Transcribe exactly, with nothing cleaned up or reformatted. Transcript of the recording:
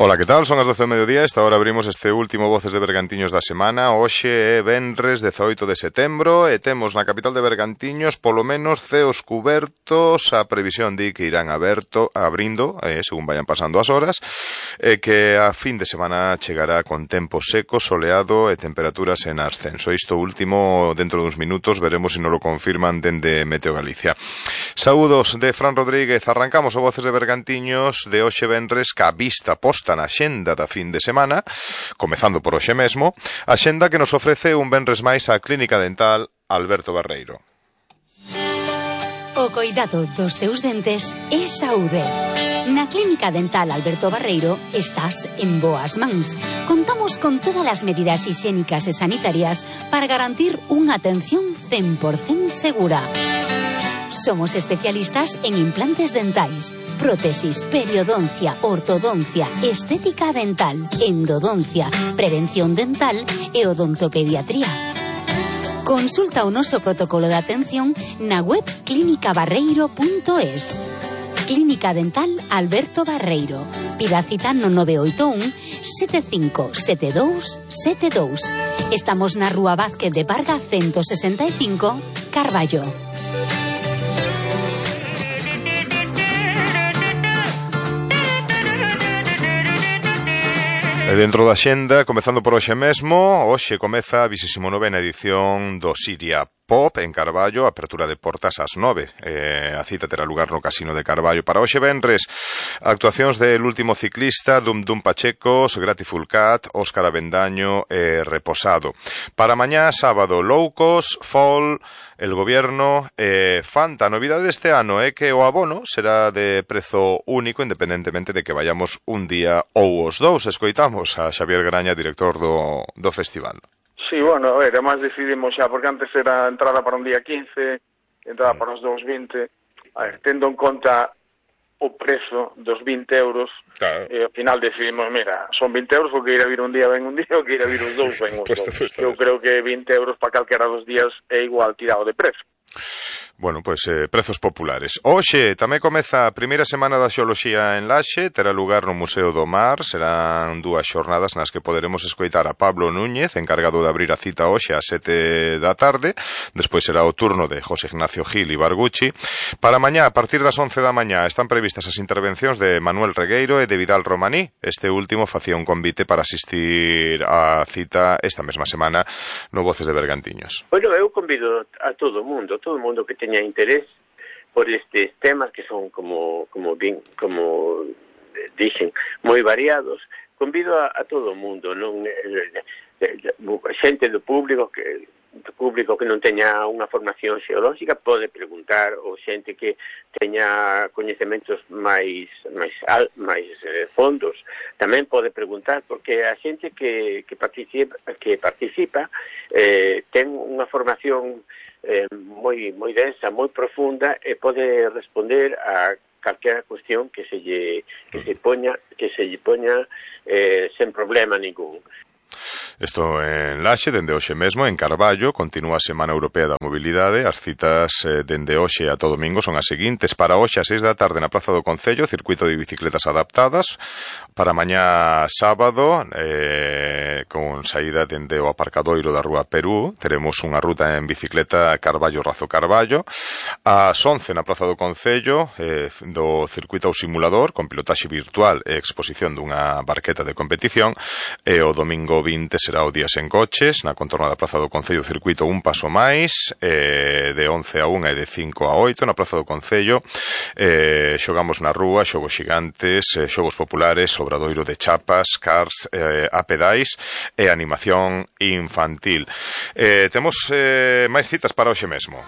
Ola, que tal? Son as doce do mediodía. Esta hora abrimos este último Voces de Bergantiños da semana. Hoxe é venres dezoito de setembro e temos na capital de Bergantiños polo menos ceos cubertos. A previsión di que irán aberto, abrindo, eh, según vayan pasando as horas, e que a fin de semana chegará con tempo seco, soleado e temperaturas en ascenso. Isto último, dentro duns minutos, veremos se nos lo confirman dende Meteo Galicia. Saúdos de Fran Rodríguez. Arrancamos o Voces de Bergantiños de hoxe venres ca vista posta na xenda da fin de semana, comezando por hoxe mesmo, a xenda que nos ofrece un venres máis a Clínica Dental Alberto Barreiro. O coidado dos teus dentes é saúde. Na Clínica Dental Alberto Barreiro estás en boas mans. Contamos con todas as medidas higiénicas e sanitarias para garantir unha atención cen por cento segura. Somos especialistas en implantes dentais, prótesis, periodoncia, ortodoncia, estética dental, endodoncia, prevención dental e odontopediatría. Consulta o noso protocolo de atención na web clínica barreiro punto es. Clínica Dental Alberto Barreiro. Pida cita no nove oito un sete cinco sete dous sete dous. Estamos na Rúa Vázquez de Parga ciento sesenta e cinco, Carballo. E dentro da xenda, comezando por hoxe mesmo, hoxe comeza a vigésima novena edición do Siria Pop en Carballo, apertura de portas ás nove. Eh, a cita terá lugar no Casino de Carballo. Para hoxe venres, actuacións del último ciclista, Dum Dum Pachecos, Grateful Cat, Óscar Avendaño e eh, Reposado. Para mañá, sábado, Loucos, Fall, El Gobierno, eh, Fanta. A novidade deste ano é que o abono será de prezo único, independentemente de que vayamos un día ou os dous. Escoitamos a Xavier Graña, director do, do festival. Sí, bueno, a ver, además decidimos xa, porque antes era entrada para un día quince, entrada para os dous vinte, a ver, tendo en conta o prezo dos vinte euros, claro. E ao final decidimos, mira, son vinte euros, o que ir a vir un día ven un día, o que ir a vir os dous ven os dous. Pues, Eu creo que vinte euros para calquera dos días é igual tirado de prezo. Bueno, pois pues, eh, prezos populares. Hoxe tamén comeza a primeira semana da xeoloxía en Laxe, terá lugar no Museo do Mar, serán dúas xornadas nas que poderemos escoitar a Pablo Núñez, encargado de abrir a cita hoxe ás sete da tarde, despois será o turno de José Ignacio Gil Ibarguchi. Para mañá, a partir das once da mañá, están previstas as intervencións de Manuel Regueiro e de Vidal Romaní. Este último facía un convite para asistir á cita esta mesma semana no Voces de Bergantiños. Bueno, eu convido a todo o mundo, todo o mundo que teña interés por estes temas que son como como bien, como dixen, moi variados. Convido a, a todo o mundo, non a xente do público que do público que non teña unha formación xeolóxica pode preguntar, ou xente que teña coñecementos máis máis máis eh, fondos tamén pode preguntar, porque a xente que que participa que participa eh, ten unha formación eh, moi moi densa, moi profunda, e pode responder a calquera cuestión que se lle que se poña que se lle poña eh, sen problema ningún. Isto en Laxe, dende hoxe mesmo, en Carballo, continúa a Semana Europea da Mobilidade. As citas eh, dende hoxe a todo domingo son as seguintes. Para hoxe, a seis da tarde, na Praza do Concello, circuito de bicicletas adaptadas. Para mañá sábado, eh, con saída dende o aparcadoiro da Rúa Perú, teremos unha ruta en bicicleta Carballo-Razo Carballo. Ás once, na Praza do Concello, eh, do circuito ao simulador, con pilotaxe virtual e exposición dunha barqueta de competición. E o domingo vinte será o día sen coches, na contorna da Praza do Concello, circuito un paso máis, eh, de once a unha e de cinco a oito na Praza do Concello. Eh, xogamos na rúa, xogos xigantes, eh, xogos populares, obradoiro de chapas, cars, eh, a pedais e animación infantil. Eh, temos eh, máis citas para hoxe mesmo.